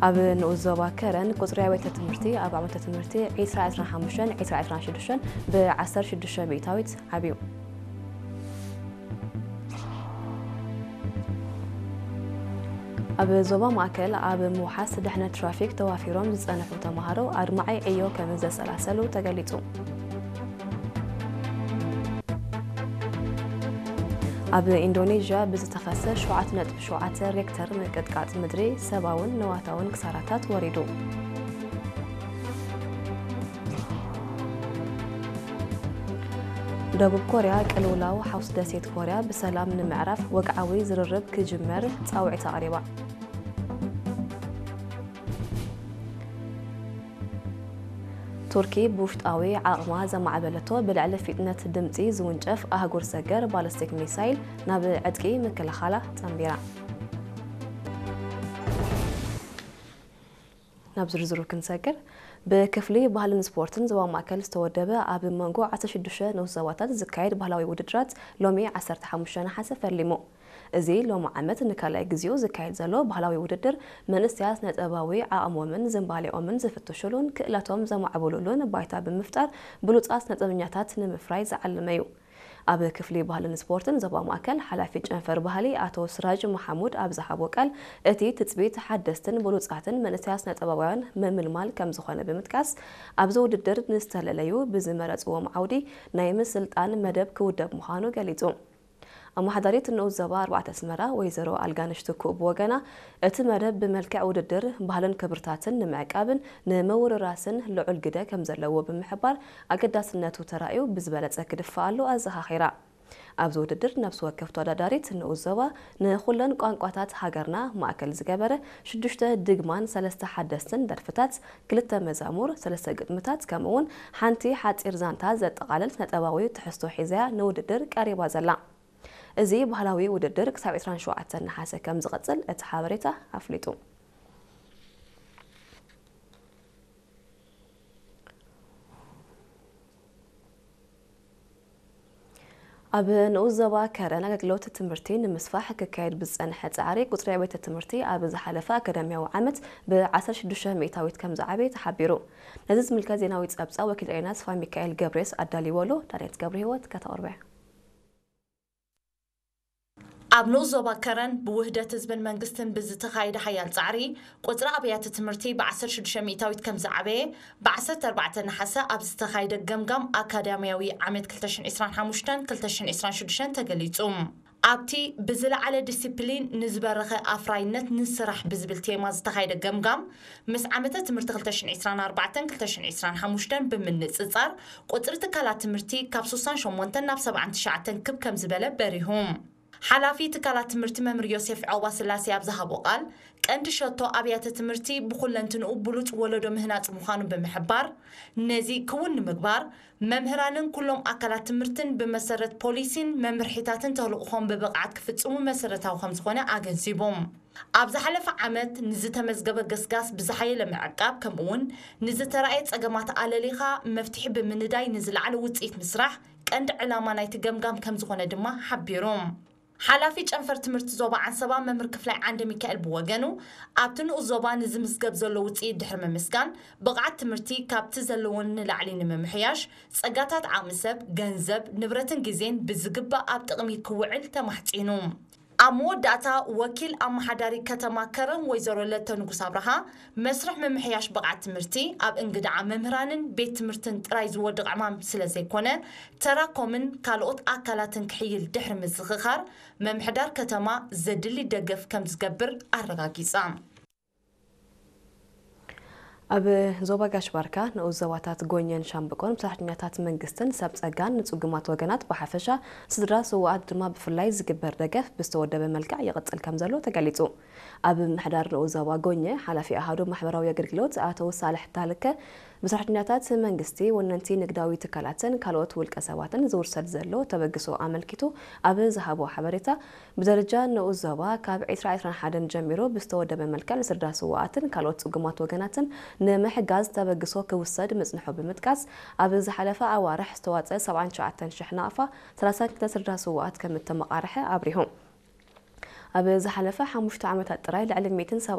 ኣብ ንኡስ ዞባ ከረን ቁጽሪ ኣብያተ ትምህርቲ ኣብ ዓመተ ትምህርቲ ዕስራ ዕስራን ሓሙሽተን ዕስራ ዕስራን ሽዱሽተን ብ ዓሰርተ ሽዱሽተ ሚእታዊት ዓብዩ። ኣብ ዞባ ማእከል ኣብ ምውሓስ ድሕነት ትራፊክ ተዋፊሮም ዝጸንሑ ተማሃሮ ኣድማዒ ዕዮ ከም ዘሰላሰሉ ተገሊጹ። ኣብ ኢንዶኔዥያ ብዝተኸስተ ሸውዓተ ነጥቢ ሸውዓተ ሬክተር ምንቅጥቃጥ ምድሪ ሰብኣውን ንዋታውን ክሳራታት ወሪዱ። ደቡብ ኮርያ ቅልውላው ሓውስ ደሴት ኮርያ ብሰላም ንምዕራፍ ወግዓዊ ዝርርብ ክጅመር ጻውዒት ኣቕሪባ። ቱርኪ ብውሽጣዊ ዓቕማ ዘማዕበለቶ ብልዕሊ ፊጥነት ድምጺ ዝውንጨፍ ኣህጉር ሰገር ባለስቲክ ሚሳይል ናብ ዕጥቂ ምክልኻላ ጸንቢራ። ናብ ዝርዝሩ ክንሰግር፣ ብክፍሊ ባህልን ስፖርትን ዞባ ማእከል ዝተወደበ ኣብ መንጎ ዓሰርተ ሽዱሽተ ንኡስ ዞባታት ዝካየድ ባህላዊ ውድድራት ሎሚ ዓሰርተ ሓሙሽተ ነሓሰ ፈሊሙ። እዚ ሎሚ ዓመት ንካልኣይ ግዜኡ ዝካየድ ዘሎ ባህላዊ ውድድር፣ መንእሰያት ስነ-ጥበባዊ ዓቕሞምን ዝንባሌኦምን ዝፍትሹሉን ክእለቶም ዘማዕብሉሉን ባይታ ብምፍጣር ብሉጻት ስነ-ጥበበኛታት ንምፍራይ ዝዓለመ እዩ። ኣብ ክፍሊ ባህልን ስፖርትን ዞባ ማእከል ሓላፊ ጨንፈር ባህሊ ኣቶ ስራጅ መሓሙድ ኣብ ዝሃቦ ቃል፣ እቲ ትጽቢት ሓደስትን ብሉጻትን መንእሰያት ስነ-ጥበባውያን ምምልማል ከም ዝኾነ ብምጥቃስ፣ ኣብዚ ውድድር ንዝተለለዩ ብዝመረጽዎም ዓውዲ ናይ ምስልጣን መደብ ክውደብ ምዃኑ ገሊጹ። ኣመሓዳሪት ንኡስ ዞባ ኣርባዕተ ኣስመራ ወይዘሮ ኣልጋነሽ ትኩእ ብወገና፣ እቲ መደብ ብመልክዕ ውድድር ባህልን ክብርታትን ንምዕቃብን ንምውርራስን ልዑል ግደ ከም ዘለዎ ብምሕባር፣ ኣገዳስነቱ ተራእዩ ብዝበለጸ ክድፋኣሉ ኣዘኻኺራ። ኣብዚ ውድድር ነፍሲ ወከፍ ተወዳዳሪት ንኡስ ዞባ ንኹለን ቋንቋታት ሃገርና ማእከል ዝገበረ ሽዱሽተ ድግማን ሰለስተ ሓደስትን ደርፍታት፣ ክልተ መዛሙር፣ ሰለስተ ግጥምታት፣ ከምኡ'ውን ሓንቲ ሓጺር ዛንታ ዘጠቓልል ስነ-ጥበባዊ ትሕዝቶ ሒዛ'ያ ንውድድር ቀሪባ ዘላ። እዚ ባህላዊ ውድድር ክሳብ ዕስራን ሸውዓተን ነሓሰ ከም ዝቐጽል እቲ ሓበሬታ ኣፍሊጡ። ኣብ ንኡስ ዞባ ከረን ኣገልግሎት ትምህርቲ ንምስፋሕ ክካየድ ብዝጸንሐ ጻዕሪ፣ ቁጽሪ ኣብያተ ትምህርቲ ኣብ ዝሓለፈ ኣካዳሚያዊ ዓመት ብ ዓሰርተ ሽዱሽተ ሚእታዊት ከም ዝዓበየ ተሓቢሩ። ነዚ ዝምልከት ዜናዊ ጸብጻብ ወኪል ኤሬና ተስፋ ሚካኤል ገብሬስ ኣዳልይዎ ኣሎ። ዳንኤት ገብረ ህይወት ከተቕርቦ እያ። ኣብ ንኡስ ዞባ ከረን ብውህደት ህዝብን መንግስትን ብዝተኻየደ ሓያል ጻዕሪ፣ ቁጽሪ ኣብያተ ትምህርቲ ብ ዓሰርተ ሽዱሽተ ሚእታዊት ከም ዝዓበየ፣ ብ ዓሰርተ ኣርባዕተ ነሓሰ ኣብ ዝተኻየደ ገምጋም ኣካዳሚያዊ ዓመት ክልተ ሽሕን ዕስራን ሓሙሽተን ክልተ ሽሕን ዕስራን ሽዱሽተን ተገሊጹ። ኣብቲ ብዝለዓለ ዲሲፕሊን ንዝበረኸ ኣፍራይነት ንስራሕ ብዝብል ቴማ ዝተኻየደ ገምጋም፣ ምስ ዓመተ ትምህርቲ ክልተ ሽሕን ዕስራን ኣርባዕተን ክልተ ሽሕን ዕስራን ሓሙሽተን ብምንጽጻር፣ ቁጽሪ ትካላት ትምህርቲ ካብ ስሳን ሸሞንተን ናብ ሰብዓን ትሽዓተን ክብ ከም ዝበለ በሪሁ። ሓላፊ ትካላት ትምህርቲ መምህር ዮሴፍ ዖባ ስላሴ ኣብ ዝሃቦ ቃል፣ ቀንዲ ሸቶ ኣብያተ ትምህርቲ ብኹለንትንኡ ብሉጽ ወለዶ ምህናጽ ምዃኑ ብምሕባር፣ ነዚ ክውን ንምግባር፣ መምህራንን ኩሎም ኣካላት ትምህርትን ብመሰረት ፖሊሲን መምርሒታትን ተልእኾም ብብቕዓት ክፍጽሙ መሰረታዊ ከም ዝኾነ ኣገንዚቡ። ኣብ ዝሓለፈ ዓመት ንዝተመዝገበ ገስጋስ ብዝሓየለ ምዕቃብ፣ ከምኡ'ውን ንዝተራእየ ጸገማት ኣለሊኻ መፍትሒ ብምንዳይ ንዝለዓለ ውጽኢት ምስራሕ ቀንዲ ዕላማ ናይቲ ገምጋም ከም ዝኾነ ድማ ሓቢሩ። ሓላፊ ጨንፈር ትምህርቲ ዞባ ዓንሰባ መምህር ክፍላይ ዓንደ ሚካኤል ብወገኑ፣ ኣብቲ ንኡስ ዞባ ንዝምዝገብ ዘሎ ውጽኢት ድሕሪ ምምስጋን፣ ብቕዓት ትምህርቲ ካብቲ ዘለዎን ንላዕሊ ንምምሕያሽ፣ ጸጋታት ዓቕሚ ሰብ፣ ገንዘብ፣ ንብረትን ግዜን ብዝግባእ ኣብ ጥቕሚ ክውዕል ተማሕጺኑ። ኣብ መወዳእታ፣ ወኪል ኣመሓዳሪ ከተማ ከረን ወይዘሮ ለተ ንጉስ ኣብርሃ፣ መስርሕ ምምሕያሽ ብቕዓት ትምህርቲ ኣብ እንግድዓ መምህራንን ቤት ትምህርትን ጥራይ ዝወድቕ ዕማም ስለ ዘይኮነ፣ ተራ ኮምን ካልኦት ኣካላትን ክሕይል ድሕሪ ምዝኽኻር፣ ምምሕዳር ከተማ ዘድሊ ደገፍ ከም ዝገብር ኣረጋጊጻ። ኣብ ዞባ ጋሽ ባርካ ንኡስ ዞባታት ጎኘን ሻምብቆን ብሰራሕተኛታት መንግስትን ሰብ ጸጋን ንጽጉማት ወገናት ብሓፈሻ፣ ስድራ ስውኣት ድማ ብፍላይ ዝግበር ደገፍ ብዝተወደበ መልክዕ ይቕጽል ከም ዘሎ ተገሊጹ። ኣብ ምምሕዳር ንኡስ ዞባ ጎኘ ሓላፊ ኣሃዱ ማሕበራዊ ኣገልግሎት ኣቶ ሳልሕ ታልከ፣ ብሰራሕተኛታት መንግስቲ፣ ወነንቲ ንግዳዊ ትካላትን ካልኦት ውልቀ ሰባትን ዝውሰድ ዘሎ ተበግሶ ኣመልኪቱ ኣብ ዝሃቦ ሓበሬታ፣ ብደረጃ ንኡስ ዞባ ካብ ዕስራ ዕስራን ሓደን ጀሚሩ ብዝተወደበ መልክዕ ንስድራ ስውኣትን ካልኦት ጽጉማት ወገናትን ንምሕጋዝ ተበግሶ ክውሰድ ምጽንሑ ብምጥቃስ፣ ኣብ ዝሓለፈ ኣዋርሕ ዝተዋጸ ሰብዓን ትሽዓተን ሽሕ ናቕፋ ሰላሳን ክልተ ስድራ ስውኣት ከም እተመቓርሐ ኣብሪሁ። ኣብ ዝሓለፈ ሓሙሽተ ዓመታት ጥራይ ልዕሊ ሚእትን ሰብዓን